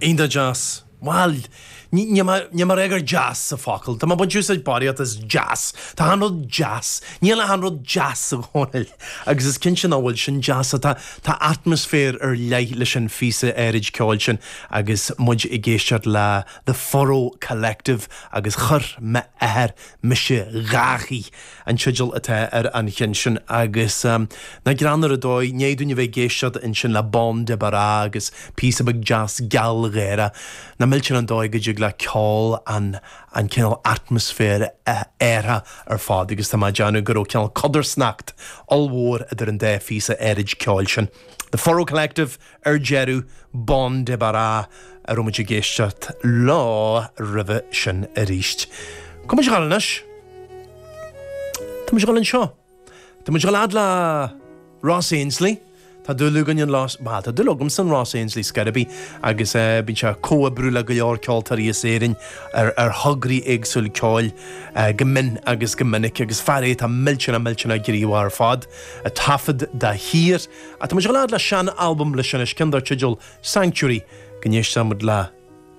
Iontach deas. Bhuel, níl mé ag rá gur deas an focal. Tá mé ag baint úsáid barraíocht as deas. Tá achan rud deas. Níl achan rud deas, a Dhónaill. Agus is cinnte nach bhfuil sin deas. Tá tá atmaisféar ar leith leis an phíosa áirid ceoil sin agus muid ag éisteacht le The Furrow Collective agus Chuir M'athair Mise Dhá Shuí. an teideal atá ar an cheann sin agus nach greannmhar an dóigh, i ndiaidh dúinn a bheith ag éisteacht ansin le Bon Débarras agus píosa beag deas gealgháireach, nach millteanach an dóigh go dtig le ceol an an cineál atmaisféar a athrú ar fad agus tá mé ag déanamh go raibh cineál codarsnacht ollmhór idir an dá phíosa áirid ceoil sin. The Furrow Collective ar deireadh, Bon Débarras a raibh muid ag éisteacht leo roimhe sin arís. Cá bhfuil muid ag dul anois? Tá muid ag dul anseo. Tá muid ag dul fhad le Ross Ainslie. Tá dúil againn in Ross, bhuel, tá dúil agamsa in Ross Ainslie scor ar bith agus bíonn sé ag comhoibriú le go leor ceoltóirí as Éirinn ar ar thograí éagsúil ceoil go mion agus go minic agus fear é atá millteanach millteanach gníomhach ar fad, ag taifead de shíor. Ach tá muid ag dul fhad le sean-albam leis anois, ceann dar teideal Sanctuary, go n-éistfidh muid le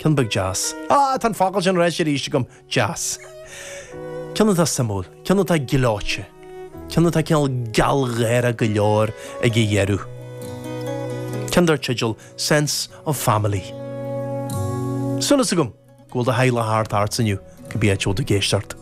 ceann beag deas. Ah, tá an focal sin ráite arís agam, deas. Ceann atá suimiúil, ceann atá gleoite, ceann atá cineál gealgháireach go leor ag a dheireadh. Ceann dar teideal Sense of Family. Súil agam go bhfuil do theaghlach thart ortsa inniu, cibé áit a bhfuil tú ag éisteacht.